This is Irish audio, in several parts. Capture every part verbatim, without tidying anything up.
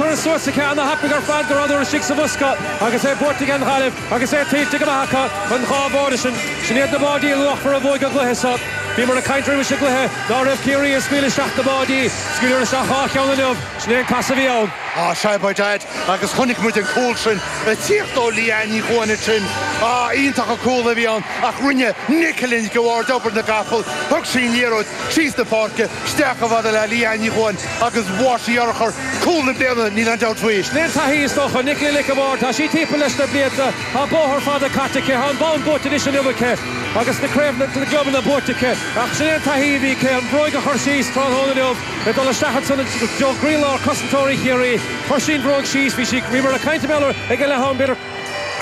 curtha suas aici ana-thapaidh ar fad go rabhadar istigh sa bhosca agus é buaite ag an Ghaillimh agus é tuillte go maith acu an dhá bháide sin. Sin iad na báidí luachmhara a bhuaigh an cluiche seo. Bhíomar ag caint roimh an gcluiche ná raibh Ciarraí ag scaoileadh isteach na báidí, scaoileadh isteach dhá cheann inniu, sin é an casadh a bhí ann. Á, sea, by dad, agus chonaic muid an cúl sin ag tíocht ó Leanne Ní Chuain ansin. Á, iontach an cúl a bhí ann ach rinne Nicola Nic an Bhaird obair na gcapall, thug sí an liathróid síos na páirce, isteach chomh fada le Leanne Ní Chuain agus bhain sí urchar, cúl na bliana, níl aon dabht faoi. Sin é an taithí is dócha, Nicola Nic an Bhaird, tá sí timpeall leis na blianta, tá bóthar fada caite aici, tá an bonn buaite anois inniu aici agus na craobhanna na gclubanna buaite aici ach sin é an taithí a bhí aici, an bhróig a chur síos tráthnóna inniu ag dul isteach ansan i dtreo gcroílár cosantóirí Chiarraí. Chuir sí an bhróig síos, bhí sí, bhíomar ag caint i ag an leath-am, b'fhéidir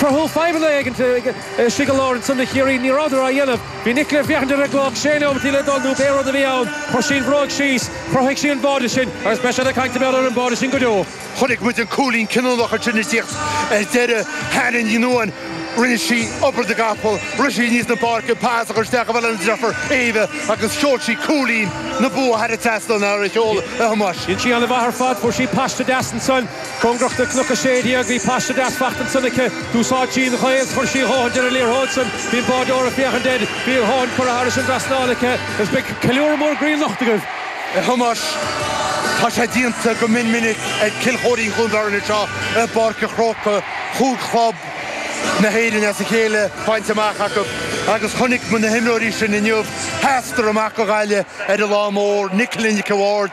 cruthú fadhbanna éigin istigh i lár ansan do Chiarraí, ní rabhadar á dhéanamh. Bhí Nicola ag féachaint ar an gcloch, sé nóimeataí le dul nó pé rud a bhí ann, chuir sí an bhróig síos, chruthaigh sí an báide sin agus beidh siad ag caint ar an báide sin go deo. Chonaic muid an cúilín cinniúnach ansin ag tíocht ar deireadh Hannah Ní Nuadháin. Rinne sí obair na gcapall, rith sí aníos na páirce, pas a chur isteach chomh fada lena deirfiúr Éabha agus sheol sí cúilín na bua thar an trasnán ar a sheoladh a Thomáis. Dhein sí an-mhaith ar fad, fuair sí paiste deas ansan, cóngarach do Chnoc a Sé Déag, bhí paiste deas fachta ansan aici, d'úsáid sí an ghaoth is chuir sí a dhóthain ar an liathróid san, bhí an báideoir ag féachaint air, bhí a dhóthain curtha thairis an dtrasnán aici agus beidh ceiliúradh mór groí anocht agaibh. A Thomáis, tá sé déanta go mion minic ag Cill Chóirín Chluain Fearnáin anseo i bPáirc an Chrócaigh, chúig chlub na hÉireann as a chéile bainte amach acu agus chonaic muid na himreoirí sin inniu, sheasadar amach do Ghaillimh ar an lá mór, Nicola Nic an Bhaird,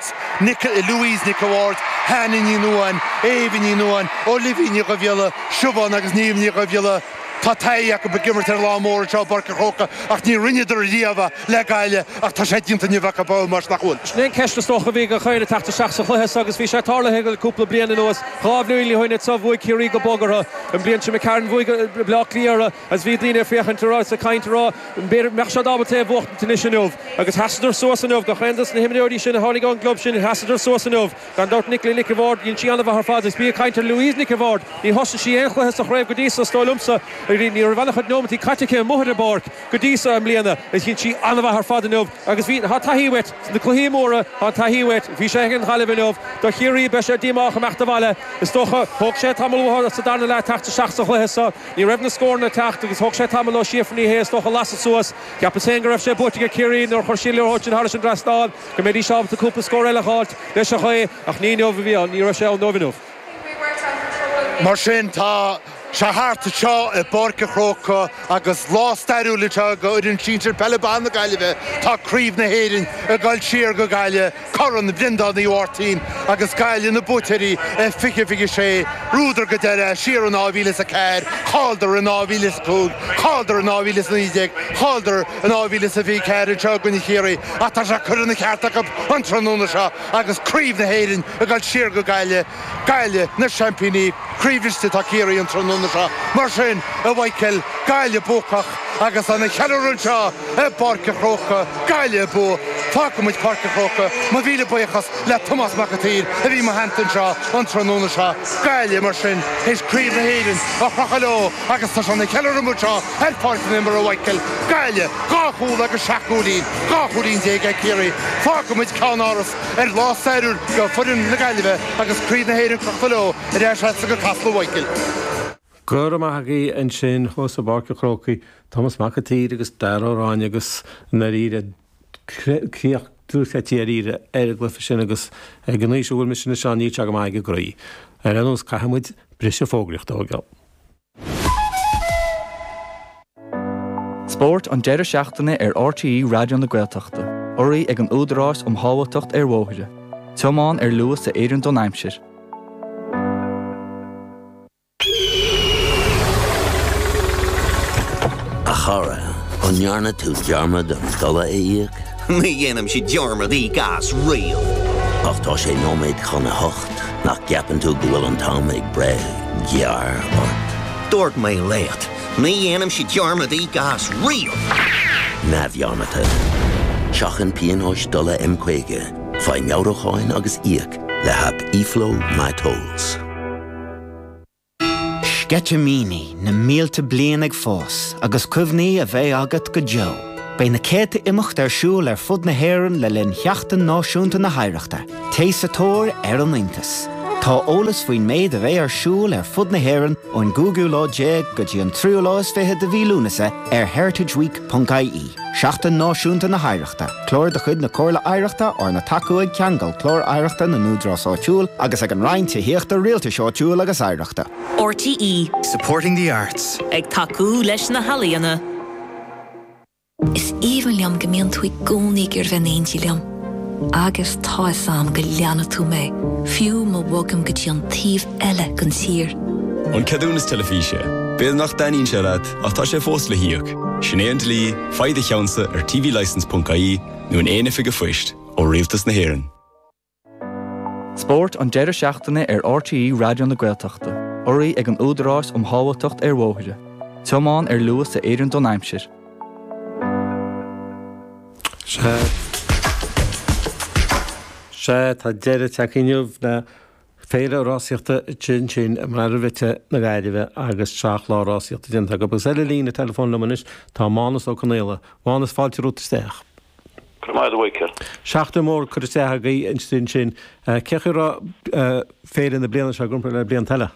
Louise Nic an Bhaird, Hannah Ní Nuadháin, Éabha Ní Nuadháin, Olivia Ní Dhubhghiolla, Siobhán agus Niamh Ní Dhubhghiolla. Tá taithí acu ag imirt ar lá mór anseo i bPáirc an Chrócaigh ach ní rinneadar riamh é le Gaillimh ach tá sé déanta inniu acu a Thomáis, nach bhfuil? Sin é an ceist is dócha a bhí ag gach éinne ag teacht isteach sa chluiche seo agus bhí sé tarlaithe le cúpla bliain anuas. Dhá bhliain ó shin anseo bhuaigh Ciarraí go bog orthu. An bhliain sin McCarron bhuaigh Baile Átha Cliath orthu agus bhí daoine ag féachaint a rá is ag caint a rá b'fhéidir mbeadh siad ábalta é a bhuachtaint anois inniu agus sheasadar suas inniu. Gach aon dos na himreoirí sin a tháinig ón gclub sin sheasadar suas inniu. Gan dabht Nicola Nic an Bhaird, dhein sí an-mhaith ar fad agus bí ag caint ar Louise Nic an Bhaird. Ní thosaigh sí aon chluiche sa chraobh go dtí so, is dóigh liomsa. Ní raibh an-chuid nóimeataí caite aici amuigh ar an bpáirc go dtí so i mbliana. Is dhein sí an-mhaith ar fad inniu agus bhí, tá taithí uait sna cluichí móra, tá an taithí uait. Bhí sé ag an Ghaillimh inniu. Do Chiarraí, beidh sé díomách imeacht abhaile. Is dócha, thóg sé tamall uathu sa darna leath teacht isteach sa chluiche so. Ní raibh na scóranna ag teacht agus thóg sé tamall ó Síofra Ní Shé is dócha lasadh suas. Cheapas féin go raibh sé buaite ag Ciarraí nuair a chuir sí an liathróid sin thairis an dtrasnán, go mbeidís ábalta cúpla scór eile a dh'fháilt leis an ghaoth, ach ní inniu a bhí ann, ní raibh sé ann dóibh inniu. Mar sin, tá sé thart anseo i bPáirc an Chrócaigh agus lá stairiúil anseo do fhoireann sinsir peile ban na Gaillimhe. Tá Craobh na hÉireann ag dul siar go Gaillimh, Corn Bhreandáin Uí Mháirtín agus Gaillimh na buaiteoirí i fiche fiche sé. Bhuadar go deireadh siar in dhá mhíle is a ceathair, chailleadar in dhá mhíle is a cúig, chailleadar in dhá mhíle is a naoi déag, chailleadar in dhá mhíle is a fiche ceathair anseo i gcoinne Chiarraí ach tá sé curtha ina cheart acu an tráthnóna seo agus Craobh na hÉireann ag dul siar go Gaillimh. Gaillimh na seaimpíní, croíbhriste atá Ciarraí an tráthnóna seo. Mar sin, a Mhichael, Gaillimh buacach agus ana cheiliúradh anseo i bPáirc an Chrócaigh, Gaillimh ag bua. Fágfaidh muid Páirc an Chrócaigh. Mo mhíle buíochas le Tomás Mac an tSaoir a bhí i mo theannta anseo an tráthnóna seo. Gaillimh, mar sin, théis Craobh na hÉireann a chrochadh leo agus tá sé ina cheiliúradh amuigh anseo ar Pháirc na hImeartha, a Mhichael. Gaillimh, dhá chúl agus seacht gcúilín, dhá chúilín déag ag Ciarraí. Fágfaidh muid ceannáras ar lá stairiúil do foireann na Gaillimhe agus Craobh na hÉireann crochta leo ar ais leatsa go Casla a Mhichael. Go raibh maith agaibh ansin thuas i bPáirc an Chrócaigh, Tomás Mac an tSaoir agus Dara Ó Ráinne agus i ndáiríre críoch dúshaite dáiríre ar an gcluiche sin agus ag an aois a bhfuil mise anois ann níl sé go maith ag an gcroí. Ar aon nós caithfidh muid briseadh fógraíochta a thógáil. Spórt an deireadh seachtaine ar R T E Raidió na Gaeltachta, urraithe ag an Údarás um Shábháilteacht ar Bhóithre. Tiomáin ar luas a oireann don aimsir. A chara, an ndearna tú dearmad an dola a íoc? Ní dhéanaimse dearmad íoc as riamh. Ach tá sé nóiméad chun a hocht, nach gceapann tú go bhfuil an t-am ag breith gearr ort? Dúirt mé leat, ní dhéanaimse dearmad íoc as riamh. Neamhdhearmadta. Seachain pionóis dola M caoga, faigh meabhrúcháin agus íoc le haip eFlow MyTolls. Sceitimíní na mílte bliain ag fás agus cuimhní a bheidh agat go deo. Beidh na céadta imeacht ar siúl ar fud na hÉireann le linn Sheachtain Náisiúnta na hOidhreachta, Téigh sa tóir ar an iontas. Tá eolas faoin méid a bheidh ar siúl ar fud na hÉireann ón gcúigiú lá déag go dtí an tríú lá is fiche de mhí Lúnasa ar heritageweek.ie. Seachtain Náisiúnta na hOidhreachta, Clár de chuid na Comhairle Oidhreachta arna tacú ag Ceangal Clár Oidhreachta na nÚdarás Áitiúil agus ag an Roinn Tithíochta Rialtais Áitiúil agus Oidhreachta. RTE Supporting the arts. Ag tacú leis na healaíona. Is aoibhinn liom go mbíonn tú i gcónaí ag iarraidh bheith in éindí liom. Agus tá a fhios agam go leanfaidh tú mé, fiú má bhogaim go dtí an taobh eile den tír. An ceadúnas teilifíse. B'fhéidir nach dtaitníonn sé leat ach tá sé fós le híoc. Sin é an dlí, faigh do cheannsa ar tvlicence.ie nó in aon oifig an phoist ó Rialtas na hÉireann. Spórt an deireadh seachtaine ar RTE Raidió na Gaeltachta, urraithe ag an Údarás um Shábháilteacht ar Bhóithre. Tiomáin ar luas a oireann don aimsir. Sea Sea tá deireadh tagtha inniu le féile rásaíochta sin sin i mBaile Bhite na Gaillimhe agus seacht lá rásaíochta déanta acu. Agus ar an líne telefón liom anois tá Mánas Ó Conaola, Mánas fáilte romhat isteach. Go Seachtain mór curtha isteach agaibh ansin sin cé raibh féile na bliana seo i gcomparáid le blianta eile.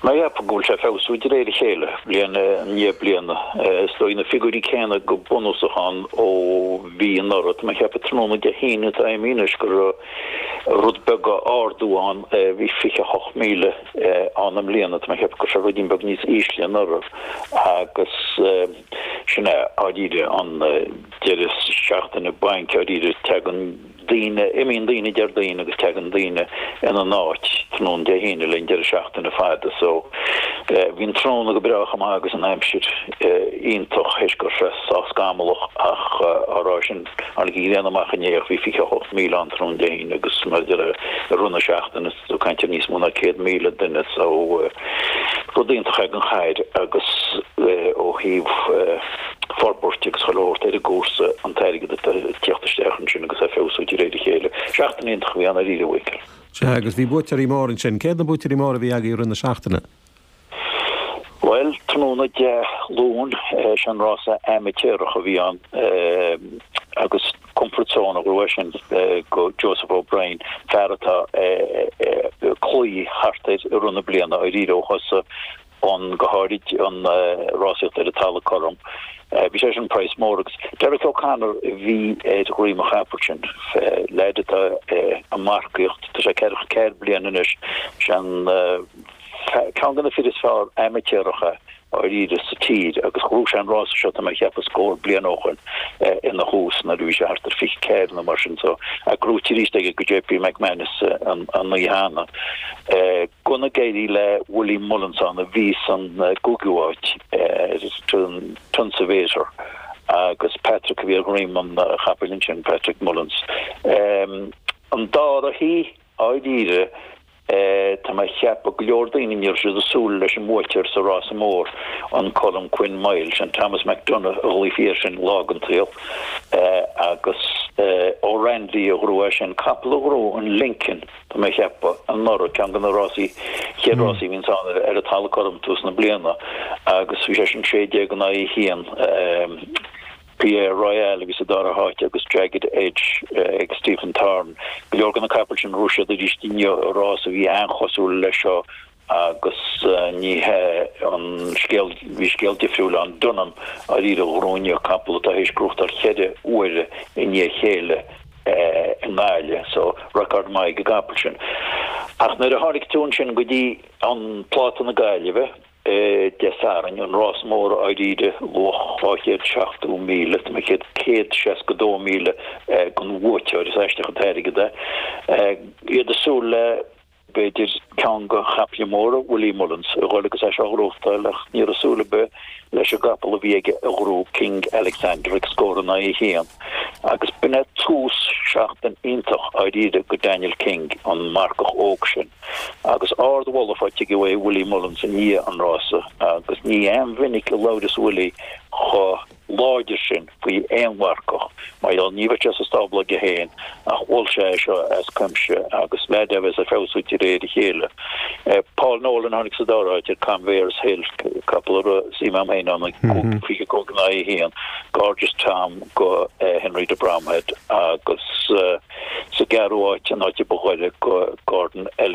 Má go bhfuil sé feabhsú de réir a chéile bliain i ndiaidh bliana. Is dóigh na figiúirí céanna go bunúsach ann ó bhí anuraidh. Tá mé ag ceapadh tráthnóna Dé hAoine atá imithe anois go raibh rud beag ardú ann bhí fiche hocht míle ann i mbliana. Tá mé ag ceapadh go raibh sé ruidín beag níos ísle anuraidh agus sin é dáiríre an deireadh seachtaine bainc dáiríre teagann daoine, imíonn daoine Déardaoin agus teagann daoine ina n-áit tráthnóna Dé hAoine le an deireadh seachtaine fada so bhí an tráthnóna go breá chomh maith agus an aimsir iontach théis go raibh sé sách scamallach ach á rá sin tháinig an ghrian amach inné ach bhí fiche a hocht míle ann tráthnóna Dé hAoine agus mar a deir i rith na seachtaine so caint ar níos mó ná céad míle duine so rud iontach ag an chathair agus ó thaobh forbairt agus chuile shórt ar an gcúrsa an t-airgead atá ag tíocht isteach ansin agus é ag feabhsú de réir a chéile. Seachtain iontach a bhí ann dáiríre, a Mhichíl. Sea, agus bhí buaiteoirí móra ansin. Cé hiad na buaiteoirí móra a bhí agaibh i rith na seachtaine? Bhuel, tráthnóna Dé Luain, sé an rása amaitéarach a bhí ann agus Comfort Zone a ghnóthaigh sin go Joseph O'Brien, fear atá ag cloí thart air i rith na bliana, dáiríre ó thosaigh an, go háirid an rásaíocht ar an talamh cothrom. Bhí sé sin praghas mór agus Derek O'Connor a bhí ar dhroim an chapaill sin, leaid atá ag marcaíocht, tá sé ceathracha ceathair bliana anois, sé an ceann de na fir is fearr amaitéaracha dáiríre sa tír agus ghnóthaigh sé an rása seo tá mé ag ceapadh scór bliain ó shoin ina thús nuair a bhí sé thart ar fiche ceathair nó mar sin so ach gnóthaithe arís aige go JP McManus an oíche cheana. Go n-éirí le Willie Mullins ann a bhí san gcúigiú háit Tunsivator agus Patrick a bhí ar dhroim an chapaill ansin, Patrick Mullins. An dara hoíche dáiríre tá mé ag ceapadh go leor daoine ní raibh siad ag súil leis an mbuaiteoir sa rása mór, an Colm Quinn Mile, sin Thomas McDonagh a ghlaofaí air sin lá den tsaol agus ó Randy a ghnóthaigh é sin, capall a ghnóthaigh an Lincoln. Tá mé ag ceapadh, anuraidh, ceann de na rásaí, chéad rásaí a bhíonns ann ar an talamh cothrom tús na bliana agus bhí sé sin sé déag in aghaidh a haon. Pierre Royale a bhí sa dara háit agus Jagged Edge ag Stephen Thorne. Go leor de na capaill sin ghnóthaigh siad arís inniu i rás a bhí an-chosúil leis seo agus ní hé an scéal, bhí scéal difriúil ann. Dunham dáiríre a ghnóthaigh inniu, capall atá théis gnóthachtáil cheithre huaire i ndiaidh a chéile i nGaillimh, so record maith ag an gcapall sin. Ach nuair a tháinig tú ansin go dtí an Pláta na Gaillimhe Dé Sathairn, an rás mór dáiríre, luach dhá chéad seachtó míle, tá mé céad céad seasca dó míle don bhuaiteoir, is aisteach an t-airgead é, iad ag súil le. b'fhéidir, ceann de chaiple móra Willie Mullins a dhul agus é seo a ghnóthachtáil ach ní raibh súil ar bith leis an gcapall a bhí aige a ghnóthú, King Alexander, ag scór in aghaidh a haon agus b'in é tús seachtain iontach dháiríre go Daniel King, an marcach óg sin. Agus ard-mholadh faighte aige uaidh Willie Mullins i ndiaidh an rása agus ní aon mhinic a labhras Willie chomh láidir sin faoi aon mharcach mar gheall ní bheadh sé sa stábla aige féin ach bhuail sé é seo as cuimse agus leaid a bheas ag feabhsú de réir a chéile. Paul Nolan tháinig sa dara háit ar Conveyors Hill, capall a raibh suim agam féin ann ag fiche cúig in aghaidh a haon, Gorgeous Tom go Henry de Bromhead agus sa gceathrú háit an áit a ba ghaire go Gordon Elliott.